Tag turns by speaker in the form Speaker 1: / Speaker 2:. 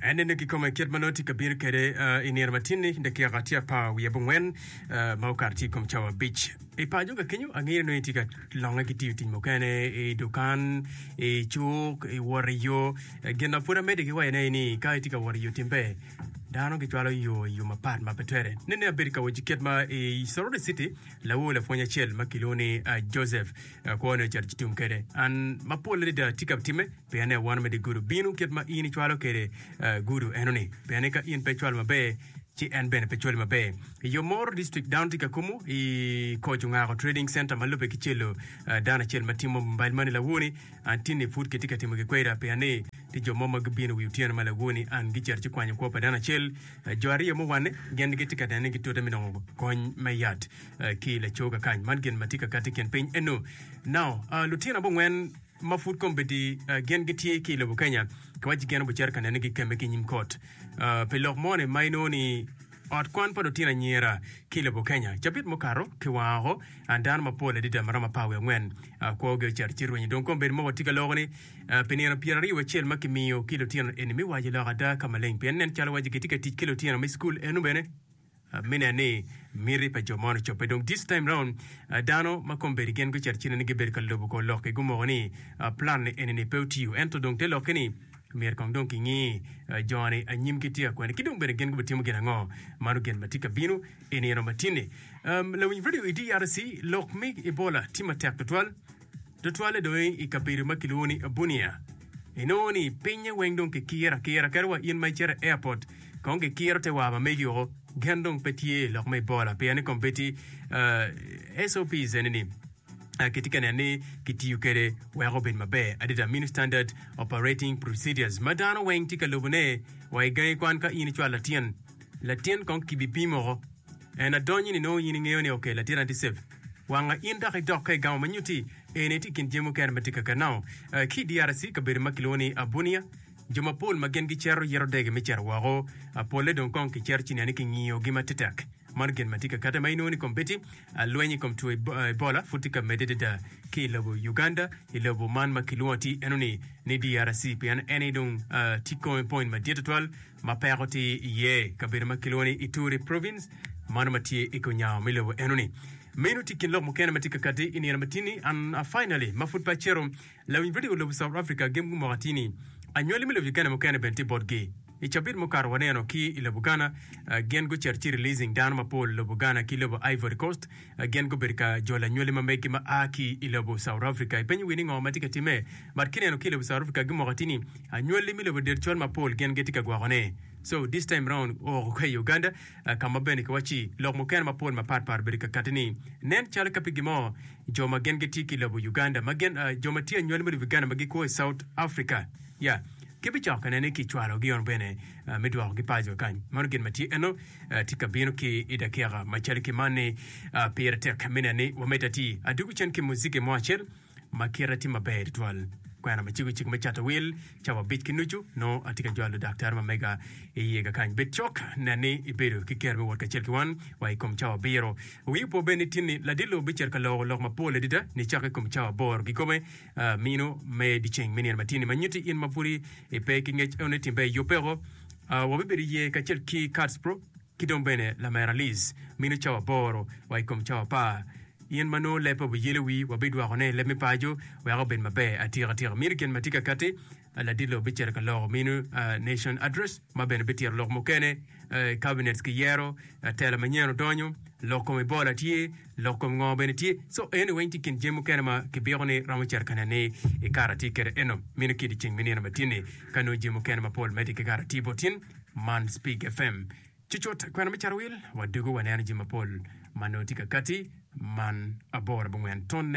Speaker 1: En neno kikome kit ma nongo tye ka bino kwede i nino matin-ni, dakika tye apar wiye abongwen ma okato tye i kom cawa abic. I paco ka kenyo, angeyo ni nongo itye ka longe ki tiyo tic mukene i dukan, i cuk, i wot i yo. Gin ma pud amedde ki wacone aye ni ka itye ka wot i yo tim ber, dano gicwalo yo i yo mapat ma pe twere. Nen ni abedo ka wacci kit ma i Soroti City, lawor lapwony acel ma kilwongo ni Joseph kwone ocito ci tum kwede. An mapol adada tye ka timme pien ni awano me dye gudo bino kit ma in icwalo kwede gudo enoni. Pien ni ka in pe icwalo maber ci en bene pe cwali maber. I yo moro district dano tye ka kumu i Koc Ongako Trading Center ma lubbe ki celo dano acel ma timo mobile money lawoni an tinni pud kitye ka timo ki kweda pien ni tye jo mo ma gibino wi otyeno ma lawoni an gicito ci kwanyo kwo pa dano acel. Jo aryo muwanne gin gitye ka nene ni gitute me nongo kony me yat ki laco kakany. Man gin ma tye ka kati i kin piny eno. Now, lutino abongwen ma pud kombeddi gin gitye ki i lobo Kenya kiwacci gin obucito ka nene gikemme ki i nyim kot pi lok moni ma inongo ni ot kwan pa lutino anyira ki i lobo Kenya. Cabit mukato kiwango oko dano mapol adada ma romo apar wiye angwen kwogi ocito ci rwenyo. Dong kombeddi ma watye ka loko ni pi nino pyeraryo wacel ma kimiyo ki lutino eni me waco lok ada ka maleng pien nen calo waci gitye ka tic ki lutino me cukul eno bene Me neno ni miti pa jo man ocobbe. Dong this time round dano ma kombeddi gin gucito cine ni gibedo ka lubo kor lokki gumoko ni plan ni eni-ni pe otiyo ento dong te lokke ni myero kong dong kingi jo-ni anyimgi tye ka kwene ki dong bene gin gubitimo gin ango. Mano gin ma tye ka bino i nino ma tin-ni. Lawiny radio i DRC lok me Ebola tye matek tutwal. Tutwalle dong i kabedo ma kilwongo ni Bunia, inongo ni pinye weng dong kikiro akira kadi wa in ma icito i airport kong kikiro te war ma megi woko. Gen dong pe tye i lok me Ebola pien ni kombeddi SOPs eni ni kitye ka neno ni kitiyo kwede wek obed maber adada mini standard operating procedures ma dano weng tye ka lubone wa i gangi kwan ka in icwalo latin latin kong kibipimo woko. En adonyo ni nongo in ingeyo ni ok latin tye safe wanga in dok idok ka igamo ma nyuti eni tye i kin jami mukene ma tye ka kanao ki i DRC kabedo ma kilwongo ni Bunia jo mapol ma gin gicito yito dege me cito woko polle dong kong kicito ci neno ni kingiyogi matetek mano gin ma tye ka kate ma inongo ni kombeddi lweny i kom two Ebola pud tye ka medde adada ki i lobo Uganda i lobo man ma kilwongo atir eno ni ni DRC pien en aye dong tye point madit tutwal ma peko tye iye i kabedo ma kilwongo ni Ituri Province, mano ma tye i kunyango me lobo enoni. Meno tye i kin lok mukene ma tye ka kati i nino matini. And finally, ma pud pe acito, lawiny radio lobo South Africa gin gumoko atir ni anywali me lobo Uganda mukene bene tye botgi. I cabit mukato waneno ki i lobo Ghana, gin gucito ci releasing dano mapol lobo Ghana ki lobo Ivory Coast. Gin gubedo ka jolo anywali ma meggi ma a ki i lobo South Africa. Ipenyo wi ni ngo ma tye ka timme? But kineno ki i lobo South Africa gimoko atir ni anywali me lobo del col mapol gin gitye ka gwokone. So this time round oo ka i Uganda ka ma bene kiwacci lok mukene mapol mapat pat obedo ka kati ni nen calo ka pi gin mo jo ma gin gitye ki i lobo Uganda ma gin jo ma tye anywali me lobo Uganda ma gikwo i South Africa ya gibicako ka nene ki cwalogi ono bene me dwokogi paco kany. Mano gin ma tye eno tye ka bino ki i dakika macalo ki man ni pire tek me neno ni wamedde atir. Adwogo cen ki muziki mo acel ma kite tye maber tutwal. Kwena ma ciko cik me cato wil cawa abic ki nucu nongo atye ka jwalo daktar ma mega i iye kakany. Bed cok, nen ni ibedo ki kero me wot kacel ki wan wa i kom cawa abiro. Wii opo bene ni tin-ni ladit lobo bicito ka loko lok mapol adada nicakke i kom cawa aboro kikome mino me dyeceng me nino matin-ni ma nyutti in ma pudi ipe ki ngec eno ni tim ber iyubbe woko. Wabibedo iye kacel ki Cardsbro ki dong bene lamera Liz mino cawa aboro wa i kom cawa apar. In ma nongo lebbe obiyelo wii, wabidwokone i leb me paco wek obed maber atika tika. Mino gin ma tye ka katti, ladit lobo bicito ka loko mino Nation Address ma bene bitito lok mukene, cabinets kiyero, tela manyen odonyo, lok kom Ebola tye, lok kom ngo bene tye. So eni weng tye kin jami mukene ma kibiko ni romo cito ka neno ni i kare atye kwede eno. Mino ki dyeceng me nino matin-ni ka nongo jami mukene mapol medde ki kare atye bot tin man Spig FM. Cucut kwena me Carowil, wadugo waneno jami mapol ma nongo tye ka katti man aboro abongwen tonne.